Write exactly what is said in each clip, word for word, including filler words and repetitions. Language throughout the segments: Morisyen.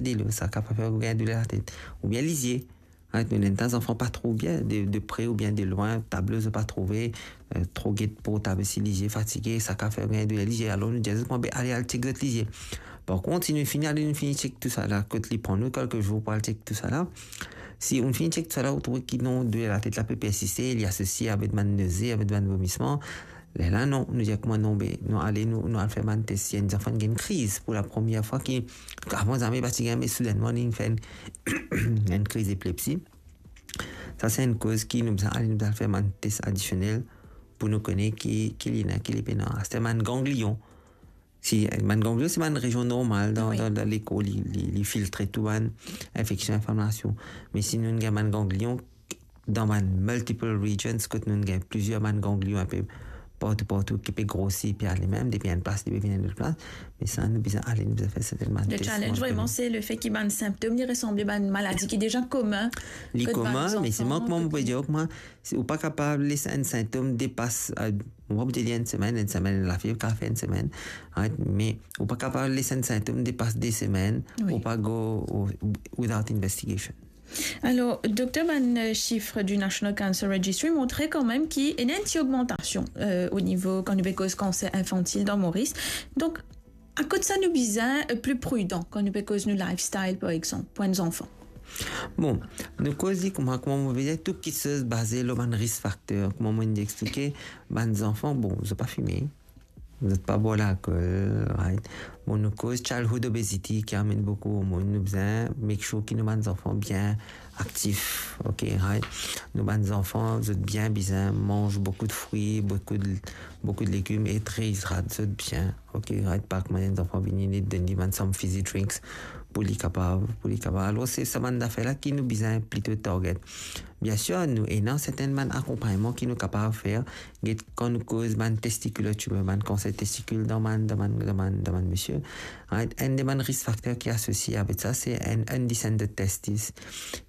stylo, sa kapav fer ou gagn douler latet. Oubien lizie. Right, nou ena enn ta zanfan pa trouv bien, de, de pre oubien de lwin, tablo zot pa trouve, eh, tro get portab si lizie, fatige, sa kapav fer gagn douler lizie. Alor nou dir zot, "Bon, be, ale al chek zot lizie." Par kont, si nou fini ale, nou fini chek tousala, kot li pran nou kelke zour pou al chek tousala, si nou fini chek tousala, nou trouv ki non, douler latet la pe persiste, li asosie avek bann noze, avek bann vomisman, lerla non, nou dir kouma non, be, nou ale, nou, nou al fer bann tes. Si enn zanfan gagn kriz pou lapremier fwa, ki avan zame pa ti gagn, me soudennman li fer enn, enn kriz epilepsi, sa se enn koz ki nou bizin ale, nou bizin al fer bann tes adisionel pou nou kone ki, ki li ena, ki li pena. Aster bann ganglion, si, eh, bann ganglion se bann rezion normal dan, wi, dan, dan lekor, li, li, li filtre tou bann infeksion, inflamasion. Me si nou gagn bann ganglion dan bann multiple regions, kot nou gagn plizier bann ganglion inpe partou, partou, ki pe grosi, pe ale mem, depi enn plas, li pe vinn enn lot plas, me sa, nou bizin ale, nou bizin fer serten bann tes. Le challenge, vreman, se lefet ki bann sintom, li resanble bann maladi ki deza komin. Li komin, me se mwa, kouma mo pe dir, kouma, si ou pa kapav les enn sintom depas, eh, mo pa pou dir enn semenn, enn semenn, lafiev kapav fer enn semenn, right? Me ou pa kapav les enn sintom depas de semenn, wi, ou pa go, ou, without investigation. Alor, dokter, bann, euh, sif du National Cancer Registry montre kanmem ki ena enn ti ogmantasion, euh, o nivo, kan nou pe koz kanser infantil dan Moris. Donk, akoz sa nou bizin, euh, pli pridan kan nou pe koz nou lifestyle, par exanp, pou enn zanfan? Bon, nou koz li kouma, kouma mo pe dir, tou kiksoz baze lor bann risk fakter. Kouma mo inn explike, bann zanfan, bon, zot pa fime, zot pa bwar lalkol, right? Bon, nou koz childhood obesity ki amenn boukou hormon, nou bizin make sure ki nou bann zanfan bien aktif, ok, right? Nou bann zanfan, zot bien bizin manz boukou de fri, boukou de, boukou de legim e reyidrat zot bien, ok, right? Pa kouma enn zanfan vini, li donn li bann sam fizzy drinks pou li kapav, pou li kapav. Alor, se sa bann zafer la ki nou bizin plito target. Biensir, nou ena serten bann akonpagnman ki nou kapav fer. Get, kan nou koz bann testicular tumor, bann kanser testikil dan bann, dan bann, dan bann, dan bann misie, right? Enn de bann risk fakter ki asosie avek sa, se enn undescended testis.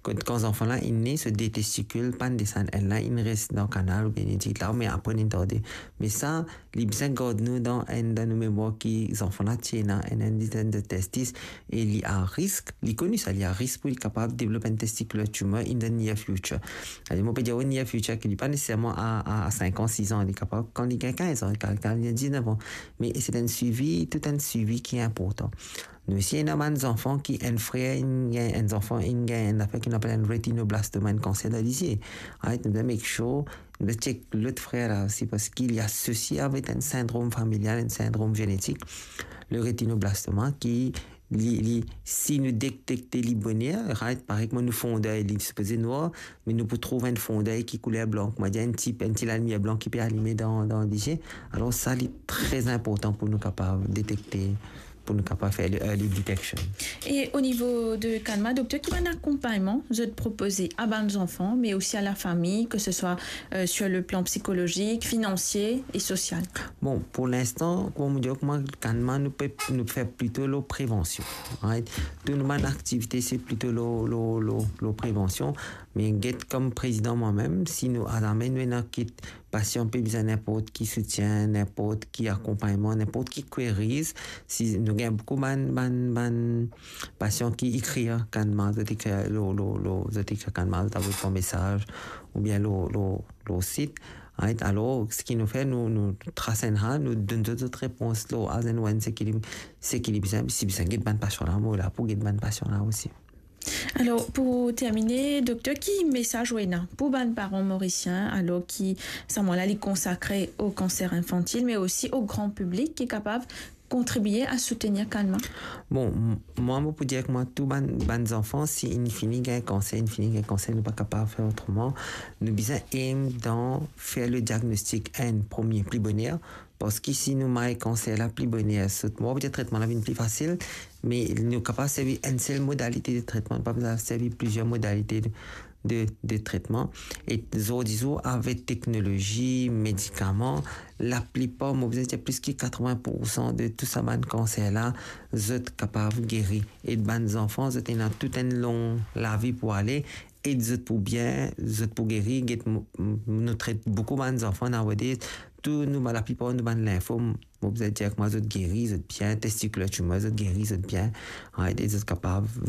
Kan, kan zanfan la inn ne, so de testikil pa'nn desann, enn la inn res dan kanal oubien inn dir la, me apre inn tarde. Me sa, li bizin gard nou dan enn, dan nou memwar ki zanfan la ti ena enn undescended testis e li a risk, li koni sa, li a risk pou li kapav devlop enn testicular tumor in the near future. Savedir, mo pe dir near future, ki li pa neseserman a, a, a sink an, sis an, li kapav kan li gagn kinz an, kan, kan li gagn diznef an. Me se enn swivi, tou enn swivi ki inportan. Nou osi ena bann zanfan ki enn frer inn gagn, enn zanfan inn gagn enn zafer ki nou apel enn retinoblastoma, enn kanser dan lizie. Right, nou bizin make sure, nou bizin check lot frer la osi, parski li asosie avek enn sindrom familial, enn sindrom zenetik, le retinoblastoma, ki li, li, si nou detekte li boner, right, parey kouma nou fondey, li sipoze nwar, me nou pou trouv enn fondey ki kouler blan, kouma dir enn ti, enn ti lalimier blan ki pe alime dan, dan lizie. Alor sa, li tre inportan pou nou kapav detekte, pou nou kapav fer le early detection. E o nivo de Kanma, dokter, ki bann akonpagnman zot propoze a bann zanfan, me osi a lafami, ke se swa, euh, sur le plan psychologique, financier et social? Bon, pou linstan, kouma mo dir, kouma Kanma, nou pe, nou fer plito lor prevansion, right? Tou nou bann aktivite, se plito lor, lor, lor, lor prevansion. Me get, kom prezidan mwa mem, si nou, azame nou ena kit pasian pe bizin ninport ki soutien, ninport ki akonpagnman, ninport ki queries, si nou gagn boukou bann, bann, bann pasian ki ekrir Kanma, zot ekrir lor, lor, lor, zot ekrir Kanma, zot avoy par mesaz, oubien lor, lor, lor sit. Right? Alor, seki nou fer, nou, nou tras enn ra, nou donn zot, zot repons lor as and when, seki li, seki li bizin, si bizin get bann pasian la, mo la pou get bann pasian la osi. Alor, pou termine, dokter, ki mesaz ou ena pou bann paran morisien, alor ki sa mwa la li konsakre o kanser infantil, me osi o gran piblik ki kapav kontribie a soutenir Kanma? Bon, m-, mwa, mo pou dir kouma tou bann, bann zanfan, si inn fini gagn kanser, inn fini gagn kanser, nou pa kapav fer otreman. Nou bizin aim dan fer le diagnostik enn premie pli boner, parski si nou may kanser la pli boner, sot, mo pa pou dir tretman la vinn pli fasil, me nou kapav servi enn sel modalite de tretman, nou pa bizin servi plizier modalite de, de, de tretman. E zordi zour, avek teknolozi, medikaman, laplipar, mo bizin dir plis ki katrovin poursan de tou sa bann kanser la, zot kapav geri. E bann zanfan, zot ena tou enn long lavi pou ale, e zot pou bien, zot pou geri. Get, mo, mo, nou tret boukou bann zanfan nowadays, tou nou, laplipar nou bann linfo, mo bizin dir kouma zot geri, zot bien, testicular tumor, zot geri, zot bien, right, e zot kapav